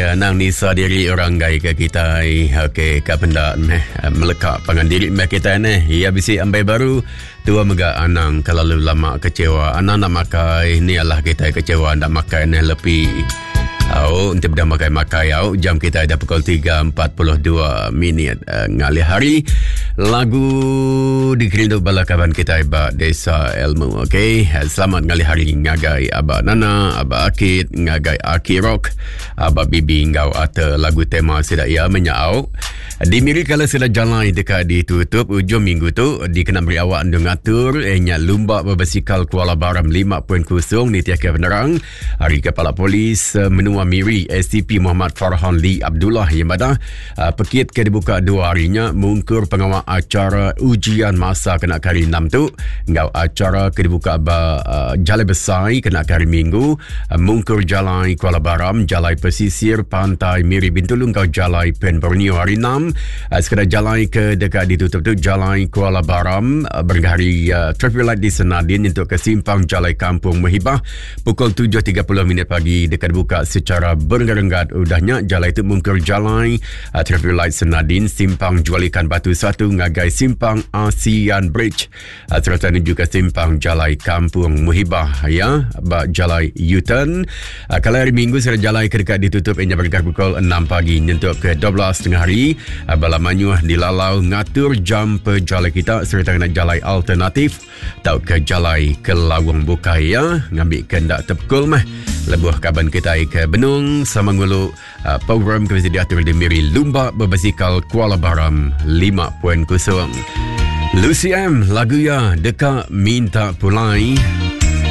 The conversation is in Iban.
Ya, nang nisa diri orang gai ke kitai. Okey, ka penda meh meleka pangan diri meh kitai neh. Ya bisi ambai baru, tua mega anang kelalu lama kecewa. Anang nak makai, ni alah kitai kecewa ndak makai neh lepi. Au, enti beda makai-makai au, jam kitai dah pukul 3.42 minit uh, ngalih hari. Lagu dikerindu bala kaban kitai ba Desa Ilmu. Okey, selamat ngalih hari ngagai Aba Nana, Aba Akit, ngagai Aki Rock, Aba Bibi enggau Ate lagu tema sida iya menyau. Di Miri kala sida jalai deka ditutup ujung minggu tu dikena meri awak endur ngatur eh nya lumba berbasikal Kuala Baram 5.0 nitihka penerang Ari Kepala Polis eh, Menua Miri SCP Muhammad Farhan Lee Abdullah yang madah eh, pekit ke dibuka dua hari nya mungkur pengawa acara ujian masa kena ke hari 6 tu enggau acara ke dibuka ba uh, Jalai Besai kena ke hari Minggu mungkur Jalai Kuala Baram, Jalai Pesisir Pantai Miri Bintulu enggau Jalai Pen Borneo hari 6. Sekeda jalai ke deka ditutup tu Jalai Kuala Baram berengkah hari uh, traffic light di Senadin nyentuk ke simpang Jalai Kampung Mehibah Pukul 7.30 minit pagi deka dibuka secara berenggat-renggat. Udah nya, jalai itu mungkur jalai uh, traffic light Senadin simpang jual ikan batu satu ngagai simpang ASEAN Bridge uh, serta menuju ke simpang jalai Kampung Muhibah ya ba jalai U-turn. Uh, kalau hari Minggu serta jalai ke dekat ditutup inya berengkah pukul 6 pagi nyentuk ke 12 tengah hari. Uh, bala manyuh dilalau ngatur jam pejalai kita serta kena jalai alternatif tauka jalai ke lawang bukai ya ngambi ke enda tepekul meh lebuh kaban kitai ke benung sama ngulu uh, program ke bisi diatur di Miri Lumba Berbasikal Kuala Baram 5.0 Lucy M lagu ya deka minta pulai.